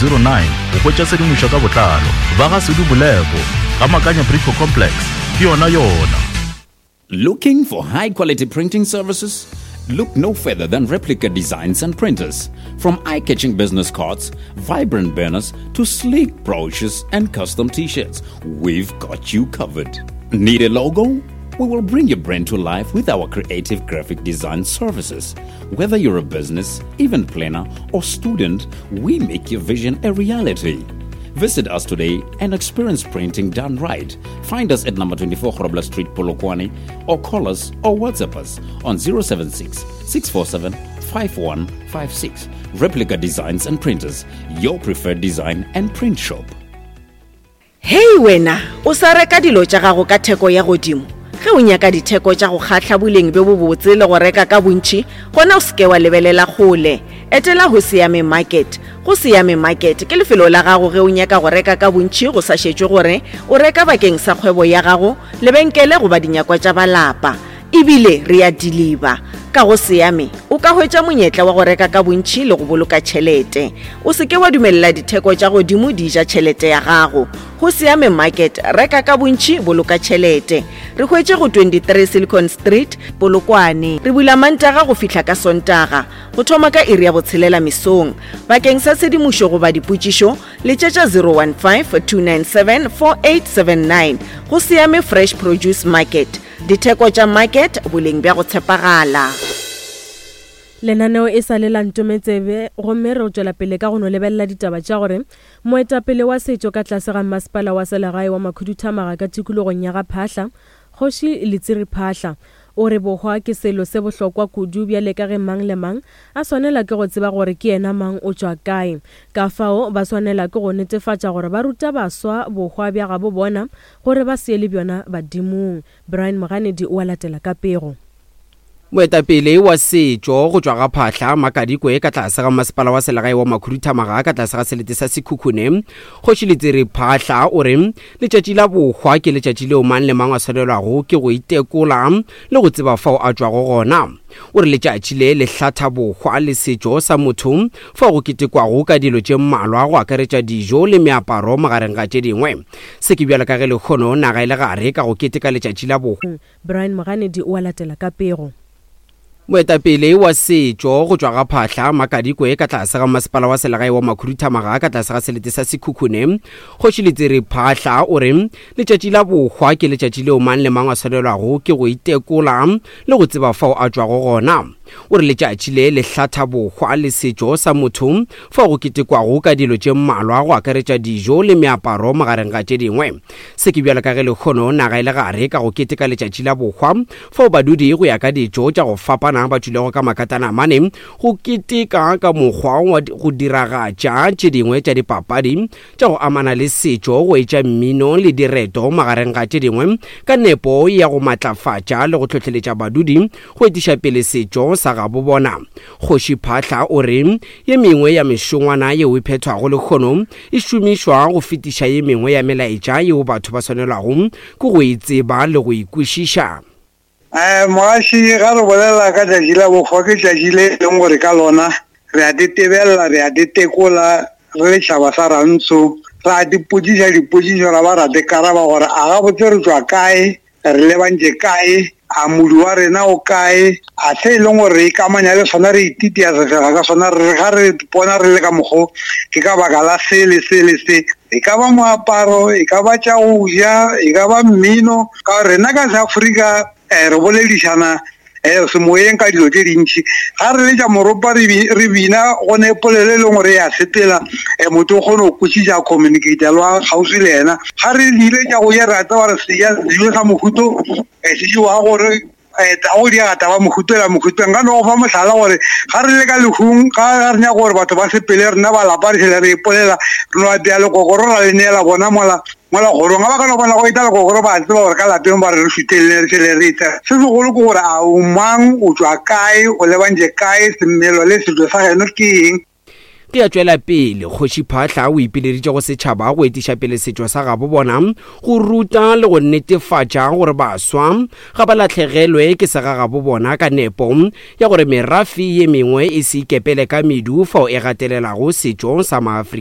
09 go hwetša tshedimošo ka botlalo. Ba ga Sedu Boleko, ga Makanya Brico Complex, ke yona yona. Looking for high quality printing services? Look no further than Replica Designs and Printers. From eye catching business cards, vibrant banners, to sleek brochures and custom t shirts, we've got you covered. Need a logo? We will bring your brand to life with our creative graphic design services. Whether you're a business, event planner, or student, we make your vision a reality. Visit us today and experience printing done right. Find us at number 24 Grobler Street, Polokwane, or call us or WhatsApp us on 076 647 5156. Replica Designs and Printers, your preferred design and print shop. Hei wena, o sa reka dilo tša gago ka theko ya godimo? Ge o nyaka ditheko tša go kgahla, boleng bjo bobotse le go reka ka bontši, gona o se ke wa lebelela kgole. Etela Hosiame Market. Hosiame Market ke lefelo la gago ge o nyaka go reka ka bontši go sa šetšwe gore o reka bakeng sa kgwebo ya gago, lebenkele goba dinyakwa tša ba lapa. E bile re a diliba. Ka go Siame, o ka hwetša monyetla wa go reka ka bontši le go boloka tšhelete. O se ke wa dumelela ditheko tša godimo di ja tšhelete ya gago. Go Siame Market, reka ka bontši, boloka tšhelete. Re hwetše go 23 Silicon Street, Polokwane. Re bula Mantaga go fihla ka Sontaga, go thoma ka iri ya botshelela mesong. Bakeng sa tshedimošo goba dipotšišo, letšetša 015 297 4879. Go Siame Fresh Produce Market. Ditheko tša market, boleng bja go tshepagala. Lenaneo e sa le la Ntometsebe gomme re tšwela pele ka go no lebelela ditaba tša gore moetapele wa setšo ka tlase ga mmasepala wa selegae wa Makhuduthamaga ka tikologong ya ga Phahla, Kgoši Letsiri Phahla, o re bohwa ke selo se bohlokwa kudu bjale ka ge mang le mang a swanela ke go tseba gore ke yena mang o tšwa kae. Ka fao ba swanela ke go netefatša gore ba ruta baswa bohwa bja gabo bona gore ba se ye le bjona badimong. Brian Moganedi o a latela ka pego. Moetapele wa setšo go tšwa ga Phahla, Makadikwe ka tlase ga masepala wa selegae wa Makhuduthamaga ka tlase ga selete sa Sekhukhune, Kgoši Letsiri Phahla o re letšatši la bohwa ke letšatši leo mang le mang a swanelwago ke go itekola le go tseba fao a tšwago gona. O re letšatši le le hlatha bohwa le setšo sa motho fao go ketekwago ka dilo tše mmalwa go akaretša dijo le meaparo magareng ga tše dingwe. Se ke bjalo ka ge lehono naga e le gare ka go keteka letšatši la bohwa. Brian Moganedi o a latela ka pego. Moetapele wa setšo go tšwa ga Phahla, Makadikwe ka tlase ga masepala wa selegae wa Makhuduthamaga ka tlase ga selete sa Sekhukhune, Kgoši Letsiri Phahla o re letšatši la bohwa ke letšatši leo mang le mang a swanelwago ke go itekola le go tseba fao a tšwago gona. O re letšatši le le hlatha bohwa le setšo sa motho fao go ketekwago ka dilo tše mmalwa go akaretša dijo le meaparo magareng ga tše dingwe. Se ke bjalo ka ge lehono naga e le gare ka go keteka letšatši la bohwa fao badudi go ya ka ditšo tša go fapana ba tšwilego ka makatana a mane go keteka ka mokgwa wa go diragatša tše dingwe tša dipapadi tša go amana le setšo go etša mmino le direto magareng ga tše dingwe ka nepo ya go matlafatša le go hlohleletša badudi go etiša pele setšo sa gabo bona. Kgoši Phaahla o re ye mengwe ya mešongwana yeo e phethwago lehono e šomišwa go fetiša ye mengwe ya melaetša yeo batho ba swanelwago ke go e tseba le go e kwešiša. Mogaši, ga re bolela ka tšatši la bohwa ke tšatši le e leng gore ka lona re a tetebelela, re a tetekola re le tšhaba sa Rantsho, ra dipotšiša dipotšišo ra ba ra dikaraba gore a gabotse re tšwa kae, re lebantše kae, a modu wa rena o kae, a se e leng gore re ikamanya le sona re ititia sefega ka sona, re ga re bona re le ka mokgo ke ka baka la se le se le se. E ka ba moaparo, e ka ba tša go ja, e ka ba mmino, Ka gore rena ka Seafrika eh, re boledišana eh, semoyeng ka dilo tše dintši. Ga re letša moropa re, re bina go ne polelo e leng gore ya sepela, eh, motho o kgone go kwešiša a communicate le wa kgauswi le yena. Ga re dile tša go ja re a tseba gore se ja sejo sa mohuto eh, se jewa gore eh, go diega taba mohutela mohuteng. Nka no go fa mohlala gore ga re le ka lehung, ga re nyaka gore batho ba sepele, rena ba lapa re šele re ipolela, re no apea lekokoro ra le neela bona mola Mola kgorong, ga ba ka no bona go eta lekokoro ba tseba gore ka lapeng ba re re šutelele re šele re etla. Se segolo ke gore a o mang, o tšwa kae, o lebantše kae, semelo le setšo sa geno ke eng. Ge a tšwela pele, Kgoši Phaahla o ipileditše go setšhaba go etiša pele setšo sa gabo bona, go ruta le go netefatša gore baswa ga ba lahlegelwe ke segagabo bona ka nepo ya gore merafe ye mengwe e se ikepele ka medu fao e gatelelago setšo sa Maafrika.